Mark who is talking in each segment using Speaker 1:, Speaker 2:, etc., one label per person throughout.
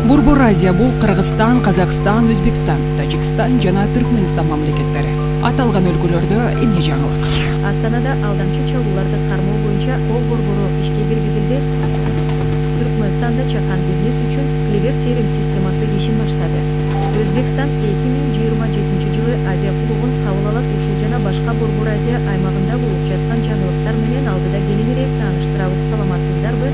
Speaker 1: Борбор Азия бул Кыргызстан, Казакстан, Өзбекстан, Тажикстан жана Түркмөнстан мамлекеттери. Аталган өлкөлөрдө эмне жаңылык?
Speaker 2: Астанада алдамчы чалууларды кармоо боюнча кол борбору ишке киргизилди. Түркмөнстанда чакан бизнес үчүн Клевер CRM системасы ишин баштады. Өзбекстан 2027 жылы Азия кубогун кабыл алат. Ушул жана башка Борбор Азия аймагында болуп жаткан жаңылыктар менен алдыда кененирээк тааныштырабыз. Саламатсыздарбы?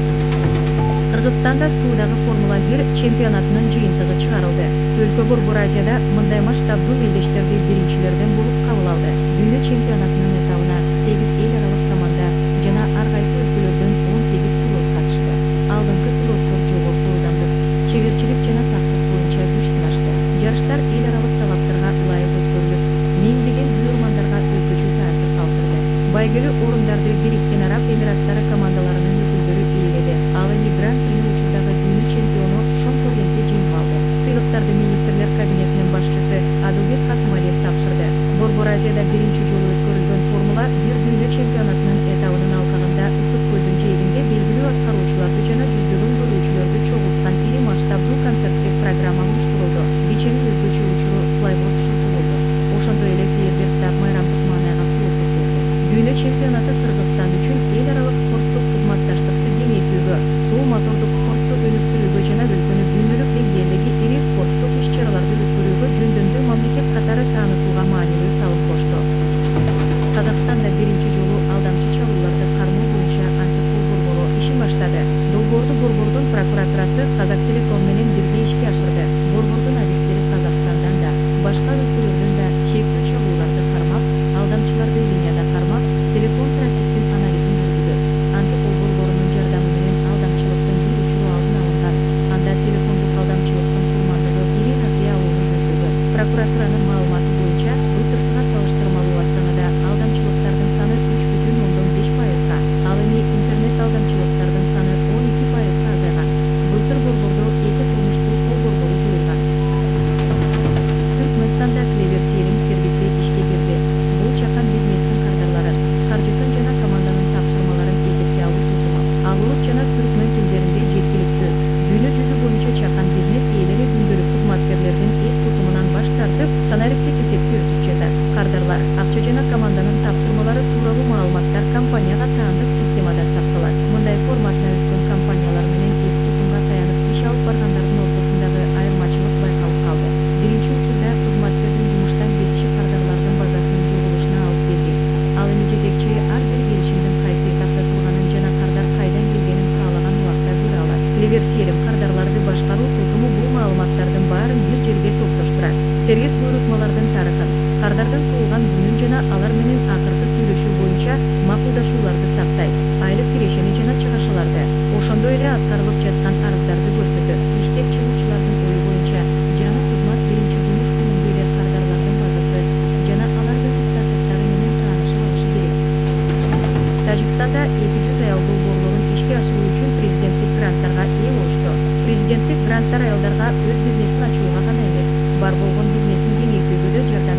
Speaker 2: Кыргызстанда суудагы Формула-1 чемпионатынын жыйынтыгы чыгарылды. Өлкө Борбор Азияда мындай масштабдуу мелдештерди биринчилерден болуп кабыл алды. Дүйнө чемпионатынын этабына 8 эл аралык команда жана ар кайсы өлкөлөрдөн 18 пилот катышты. Алдыңкы пилоттор жогорку ылдамдык, чеберчилик жана тактык боюнча күч сынашты. Жарыштар эл аралык талаптарга ылайык өткөрүлүп, миңдеген буйрмандарга өзгөчө таасир калтырды. Байгелүү орундарды Бириккен Араб Эмираттары командаларынын өкүлдөрү ээледи. Ал эми Гран-при учурдагы дүйнө чемпиону Шон Торрентке жеңип алды. Сыйлыктарды министрлер кабинетинин башчысы Адылбек Касымалиев тапшырды. Борбор Азияда биринчи жолу өткөрүлгөн Формула-1 дүйнө чемпионатынын этабынын алкагында Ысык көлдүн жээгинде белгилүү аткаруучуларды жана жүздөгөн көрүүчүлөрдү чогулткан ири масштабдуу концерттик программа уюштурулду. Кеченин өзгөчө учуру флайборд шоусу болду. Ошондой эле фейерверк да майрамдык маанайга кооздук берди. Дүйнө чемпионаты Кыргызстан үчүн эл аралык спорттук кызматташтыкты кеңейтүүгө, суу мотордук спортту өнүктүрүүгө жана өлкөнү дүйнөлүк деңгээлдеги ири спорттук иш-чараларды өткөрүүгө жөндөмдүү мамлекет катары таанытууга маанилүү салым кошту. Казакстанда биринчи жолу алдамчы чалууларды кармоо боюнча антикол борбору ишин баштады. Долбоорду борбордун прокуратурасы Казак Телеком менен бирге ишке ашырды. Борбордун адистери Казакстандан да, башка өлкөлөрдөн да шектүү чалууларды кармап, алдамчыларды линияда кармап, телефон трафиктин анализин жүргүзөт. Антикол борборунун жардамы менен алдамчылыктын бир учуру алдын алынган. Анда телефондук алдамчылыктын курмандыгы Ирина Насыяловну көздөгөн. Прокуратуранын маалыматы боюнча, былтыркыга салыштырмалуу Астанада алдамчылыктардын саны 3,5%, ал эми интернет алдамчылыктардын саны 12%га азайган. Былтыр борбордо 2 кылмыштуу кол борбору жоюлган. Түркмөнстанда Клевер CRM сервиси ишке кирди. Бул чакан бизнестин кардарларын, каржысын жана команданын тапшырмаларын эсепке алуу тутуму. Ал орус жана түркмөн тилдеринде жеткиликтүү. Дүйнө жүзү боюнча чакан бизнес ээлери күндөлүк кызматкерлердин эс тутумунан баш тартып, санариптик эсепти өтүп жатат. Кардарлар, акча жана команданын тапшырмалары тууралуу маалыматтар компанияга таандык системада сакталат. Мындай форматына өткөн компаниялар менен эс тутумга таянып иш алып баргандардын ортосундагы айырмачылык байкалып калды. Биринчи учурда кызматкердин жумуштан кетиши кардарлардын базасынын жоголушуна алып келди. Ал эми жетекчи ар бир келишимдин кайсы этапта турганын жана кардар кайдан келгенин каалаган убакта көрө алат. Клевер CRM кардарларды башкаруу тутуму бул маалыматтардын баарын бир жерге топтоштурат. Сервис буйрутмалардын тарыхын, кардардын туулган күнүн жана алар менен акыркы сүйлөшүү боюнча макулдашууларды сактайт. Айлык кирешени жана чыгашыларды, ошондой эле аткарылып жаткан арыздарды көрсөтөт. Иштеп чыгуучулардын ою боюнча, жаңы кызмат биринчи жумуш күнүндө эле кардарлардын базасы жана алардын муктаждыктары менен таанышып алышы керек. Тажикстанда 200 аял долбоорлорун ишке ашыруу үчүн президенттик гранттарга ээ болушту. Президенттик гранттар аялдарга өз бизнесин ачууга гана эмес, бар болгон бизнесин кеңейтүүгө да жардам